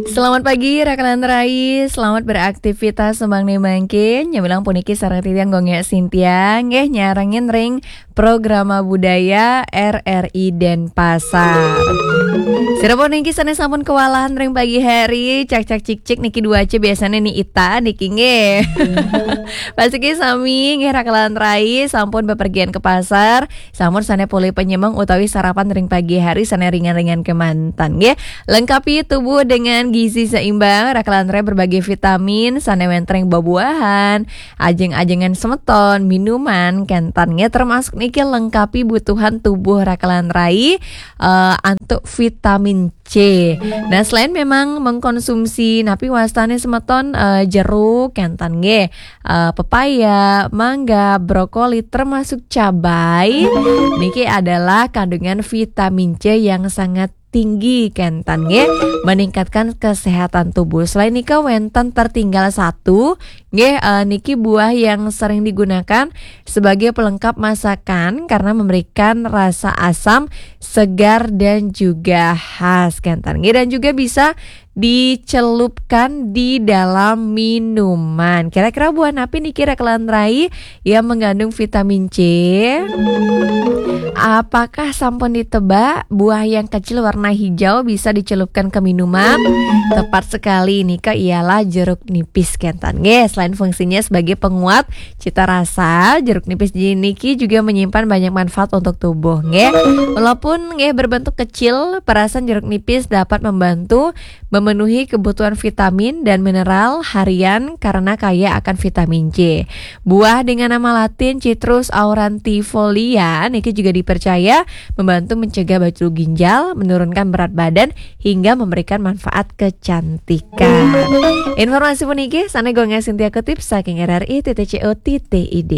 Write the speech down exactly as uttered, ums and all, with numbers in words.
Selamat pagi, rakalan rai. Selamat beraktivitas sembang nih mangkin. Nyambilang puniki sareng titiang Gung Sintia, nggih nyarengin ring Programa Budaya R R I Denpasar. Sira puniki sané sampun kewalahan ring pagi hari, cak-cak cik-cik niki dua aja biasanya nih Ita niki nggih. Pasiki sami nggih rakalan rai sampun bepergian ke pasar, sampun sané polih penyemeng utawi sarapan ring pagi hari sané ringan-ringan kemanten nggih. Lengkapi tubuh dengan gizi seimbang, rakalan rai berbagai vitamin sané wénten ring bebuahan, ajeng-ajengan semeton, minuman, kénten nggih termasuk niki lengkapi butuhan tubuh rakalan rai eh, antuk vitamin C. Nah, selain memang mengkonsumsi napi wastané semeton eh, jeruk, kénten nggih, eh, pepaya, mangga, brokoli termasuk cabai, niki adalah kandungan vitamin C yang sangat tinggi kénten nggih, meningkatkan kesehatan tubuh. Selain nika wénten tertinggal satu nggih, eh, niki buah yang sering digunakan sebagai pelengkap masakan karena memberikan rasa asam, segar dan juga khas kénten nggih, dan juga bisa dicelupkan di dalam minuman. Kira-kira buah napi niki rakalan rai yang mengandung vitamin C? Apakah sampun ditebak buah yang kecil warna hijau bisa dicelupkan ke minuman? Tepat sekali, nika ialah jeruk nipis kénten nggih. Selain fungsinya sebagai penguat cita rasa, jeruk nipis niki juga menyimpan banyak manfaat untuk tubuh nggih. Walaupun nggih berbentuk kecil, perasan jeruk nipis dapat membantu memenuhi kebutuhan vitamin dan mineral harian karena kaya akan vitamin C. Buah dengan nama latin Citrus aurantifolia niki juga dipercaya membantu mencegah batu ginjal, menurunkan berat badan, hingga memberikan manfaat kecantikan. Informasi puniki sané Gung Sintia kutip saking R R I titik C O titik I D.